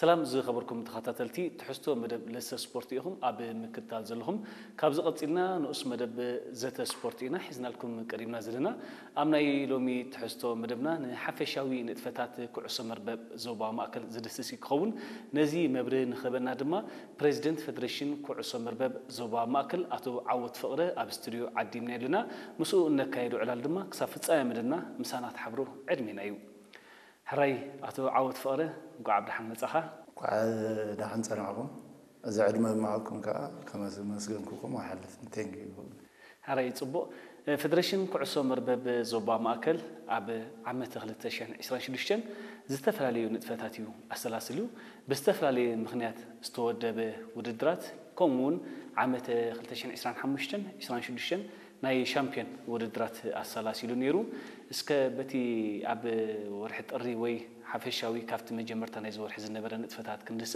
ሰላም ዝኸበርኩም ተኸታተልቲ ትሕዝቶ መደብ ለሰ ስፖርት ኢኹም ኣብ ምክትታል ዘለኹም። ካብዚ ቀጺልና ንኡስ መደብ ዘተ ስፖርት ኢና ሒዝናልኩም ቀሪብና ዘለና። ኣብ ናይ ሎሚ ትሕዝቶ መደብና ንሓፈሻዊ ንጥፈታት ኩዕሶ መርበብ ዞባ ማእከል ዝድስስ ክኸውን። ነዚ መብርሂ ንክህበና ድማ ፕሬዚደንት ፌደሬሽን ኩዕሶ መርበብ ዞባ ማእከል ኣቶ ዓወት ፍቕረ ኣብ ስቱድዮ ዓዲምና ኣለና። ምስኡ እነካየዶ ዕላል ድማ ክሳብ ፍጻሜ መደብና ምሳና ትሓብሩ ዕድሜና እዩ። ሕራይ ኣቶ ዓወት ፍቕረ፣ እንኳዕ ብደሓን መጻኻ። እንኳዕ ደሓን ጸናሕኩም። እዚ ዕድመ ዝመሃብኩም ከኣ ከመስገንኩኹም ኣይሓልፍን። Thank you። ሕራይ ጽቡቕ። ፌደሬሽን ኩዕሶ መርበብ ዞባ ማእከል ኣብ ዓመተ ክልተ ሽሕን ዕስራን ሽዱሽተን ዝተፈላለዩ ንጥፈታት እዩ ኣሰላስሉ። ብዝተፈላለየ ምኽንያት ዝተወደበ ውድድራት፣ ከምኡ እውን ዓመተ ክልተ ሽሕን ዕስራን ሓሙሽተን ዕስራን ሽዱሽተን ናይ ሻምፒዮን ውድድራት ኣሰላሲሉ ነይሩ። እስከ በቲ ኣብ ወርሒ ጥሪ ወይ ሓፈሻዊ ካብቲ መጀመርታ ናይዚ ወርሒ ዝነበረ ንጥፈታት ክንድስስ።